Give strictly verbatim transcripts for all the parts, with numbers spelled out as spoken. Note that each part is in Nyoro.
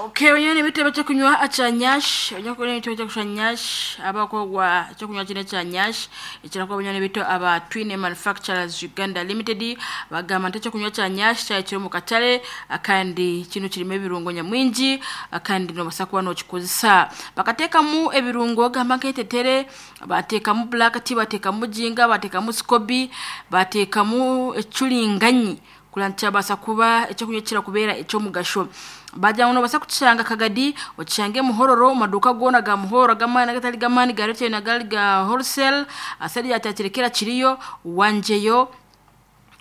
Okay, wenyewe ni bitebe kyokunywa acha nyash wenyewe ni bitebe kya nyash abakogwa kyokunywa kine kya nyash ekirakuba wenyewe ni bito aba Twine Manufacturers Uganda Limited bagamba nti ekyokunywa kya nyash kyakiri mu katale akandi kino kirimo ebirungo nyamwingi akandi nobasa kuba nokikozesa bakateekamu ebirungo gamba nk'etetere bateekamu black tea bateekamu jinga bateekamu scoby bateekamu ecuringanyi kugira nti kyabasa kuba ekyokunywa kirakubeera ekyomugasho bagira ngu nobasa kukishanga Kagadi okishange Muhororo mu maduuka goona ga Muhororo ag'amaani agatari g'amaani ga retail n'agari ga wholesale asari yatakirekera kiriyo wangyeyo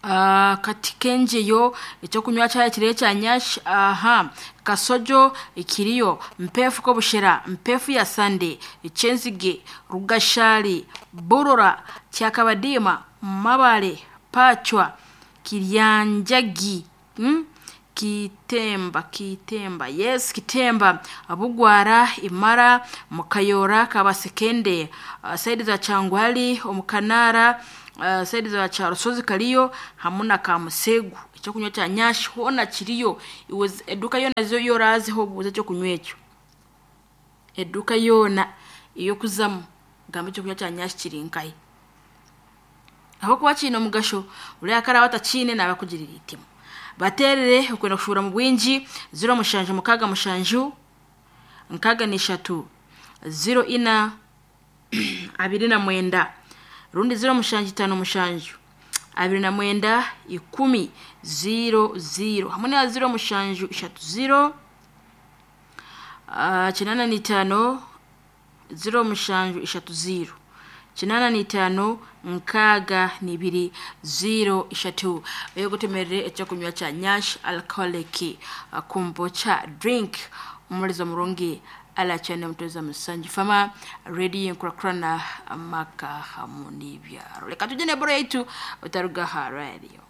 Uh, kati kenjeyo ekyokunywa kyayo kiriyo ekya nyash aha kasojo ikiriyo mpefu kobushera mpefu ya sande ekyenzige rugashali burora kyakabadima mabale pachwa kiryanjagi hmm? Kitemba kitemba yes kitemba abugwara imara mukayora kabasekende uh, saidi za changwali omukanara uh, saidi za charusozi kaliyo hamwe na kamusegu ekyokunywa kya nyashi hona kiriyo It eduka yona zo yoraziho obuuza ekyokunywa ekyo eduka yona eyokuzamu gamba ekyokunywa kya nyashi kiri nkahi ahabwokuba kiine omugasho uriya akaraba atakiine naaba akugirira eitima baterere okwenda kushuura mu bwingi ziro mushanju mukaaga mushanju nkaaga n'ishatu ziro ina abiri na mwenda rundi ziro mushanju itaano mushanju abiri na mwenda ikumi ziro ziro hamwe na ziro mushanju ishatu ziro uh, kinana n'itaano ziro mushanju ishatu ziro kinana n'itaano nkaaga n'ibiri ziro ishatu eyogutemerere ekyokunywa kya nyash alcoholic uh, kombucha drink omulizo murungi alachane mutweza musanju fama redio enkurakurana amaka hamu n'ibyaro reka tujye neboro yaitu otaruga ha radio.